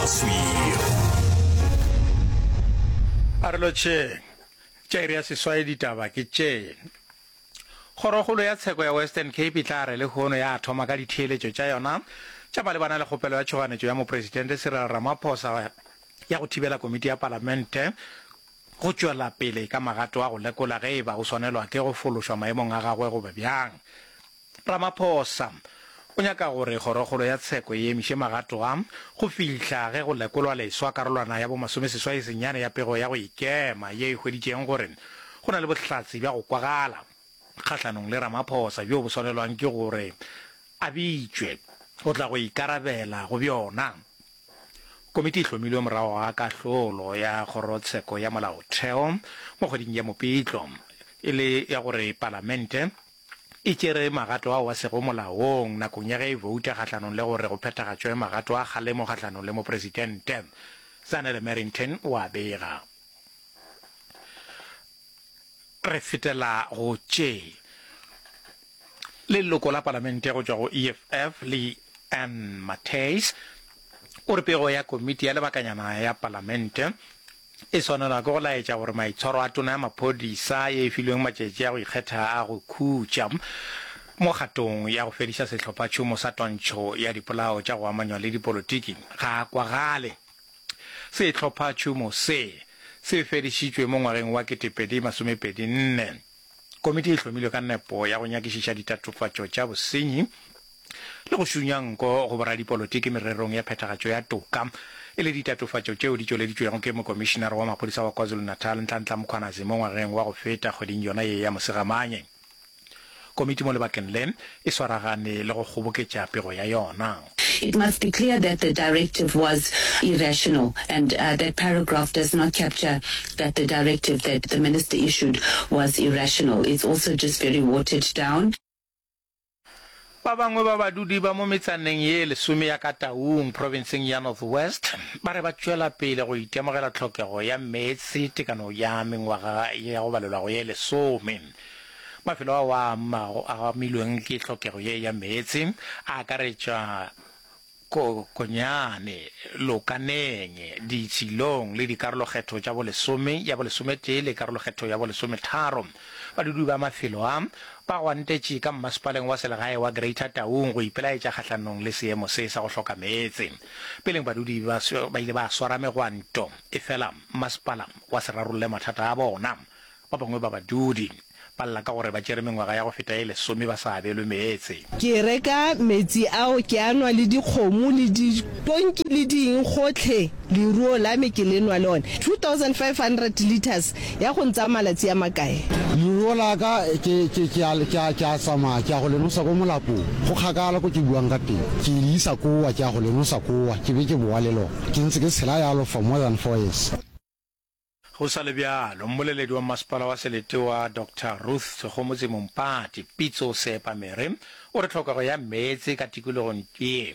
Mosweu. A re lotšheng. Tša iri ya seswai ditaba ke tše. Kgorokgolo ya Tsheko ya Western Cape e tla re lehono ya thoma ka ditheeletšo tša yona tša malebana le kgopelo ya tšhoganetšo ya Mopresidente Cyril Ramaphosa ya go thibela komiti ya Palamente go tšwela pele ka magato a go lekola ge e ba o swanelwa ke go fološwa maemong a gagwe goba bjang. Ramaphosa o nyaka gore Kgorokgolo ya Tsheko e emiše magato a go fihla ge go lekolwa leswa karolwana ya bomasomeseswai senyane ya pego ya go ikema ye e hweditšeng gore go na le bohlatse bja go kwagala kgahlanong le Ramaphosa bjo bo swanelwang ke gore a bitšwe go tla go ikarabela go bjona. Komiti e hlomilwe morago ga kahlolo ya Kgorotsheko ya Molaotheo mo kgweding ya Mopitlo e le ya gore Palamente e tšere magato ao a sego molaong nakong ya ge e bouta kgahlanong le gore go phethagatšwe magato a kgalemo kgahlanong le Mopresidente. Zanele Merrington o a bega. Re fetela go tše. Leloko la Palamente go tšwa go EFF, Lee Ann Mathys, o re pego ya komiti ya lebakanyana ya Palamente e swanelwa ke go laetša gore maitshwaro a tona ya maphodisa ye e filweng matšatši a go ikgetha a go khutša mo kgatong ya go fediša sehlophatšhomo sa twantšho ya dipolao tša go amanywa le dipolotiki ga a kwagale. Sehlophatšhomo se se fedišitšwe mo ngwageng wa 2024. Komiti e hlomilwe ka nepo ya go nyakišiša ditatofatšo tša bosenyi le go šunya nko go boradipolotiki mererong ya phethagatšo ya toka, e le ditatofatšo tšeo di tšweleditšwego ke Mokomišinare wa Maphodisa wa KwaZulu-Natal, Nhlanhla Mkhwanazi mo ngwageng wa go feta kgweding yona ye ya Mosegamanye. Komiti mo lebakeng le e swaragane le go kgoboketša pego ya yona. It must be clear that the directive was irrational and that paragraph does not capture that the directive that the minister issued was irrational. It's also just very watered down. Ba bangwe ba badudi ba mo metsaneng ye lesome ya ka Taung, profenseng ya North West, ba re ba tšwela pele go itemogela tlhokego ya meetse tekano ya mengwaga ya go balelwa go ye lesome. Mafelo ao a amilweng ke tlhokego ye ya meetse a akaretša Kokonyane, Lokaneng, Ditshilong le dikarolokgetho tša bolesome, ya bolesometee le karolokgetho ya bolesometharo. Badudi ba mafelo a ba gwantetše ka mmasepaleng wa selegae wa Greater Taung go ipelaetša kgahlanong le seemo se sa go hloka meetse. Peleng badudi ba ba ile ba swara megwanto, efela mmasepala wa se rarolle mathata a bona. Ba bangwe ba badudi ba lla ka gore ba tšere mengwaga ya go feta ye lesome ba sa abelwe meetse. Ke reka metsi ao ke a nwa le dikgomo le ditonki le di eng gotlhe leruo la me ke le nwa le one 2500 litres ya go ntsaya malatsi a makae. Leruo la ka ke ke ke a ke a ke a tsamaya ke ya go le nosa ko molapong go kgakala ko ke buang ka teng ke le isa kowa ke ya go le nosa kowa ke be ke bowa le lona ke ntse ke tshela yalo for more than four years. Go sa le bjalo, mmoleledi wa masepala wa selete wa Doctor Ruth Segomotsi Mompati, Pitso Seepamere, o re tlhokego ya meetse ka tikologong ye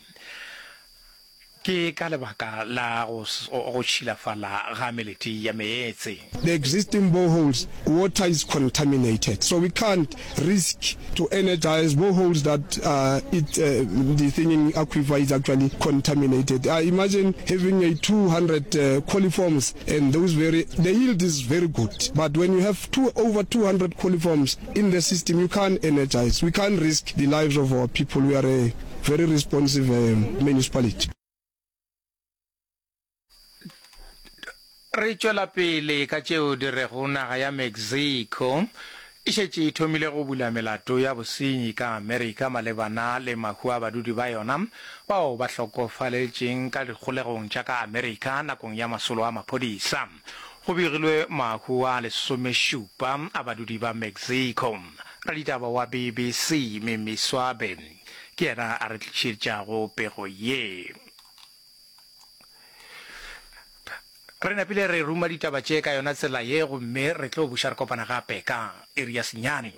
ke ka lebaka la go go tšhilafala ga melete ya meetse. The existing boreholes water is contaminated so we can't risk to energize boreholes that it the thinking aquifer is actually contaminated. I imagine having a 200 coliforms and those very the yield is very good but when you have two over 200 coliforms in the system you can't energize. We can't risk the lives of our people. We are a very responsive municipality. Re tšwela pele ka tšeo di rego naga ya Mexico e šetše e thomile go bula melato ya bosenyi ka Amerika malebana le mahu a badudi ba yona bao ba hlokofaletšeng ka dikgolegong tša ka Amerika nakong ya masolo a maphodisa. Go begilwe mahu a lesomešupa a badudi ba Mexico. Raditaba wa BBC Mimi Swabe ke yena a re tlišetšago pego ye. Re napile re ruma ditaba tše ka yona tsela ye gomme re tlo buša re kopana gape ka iri ya senyane.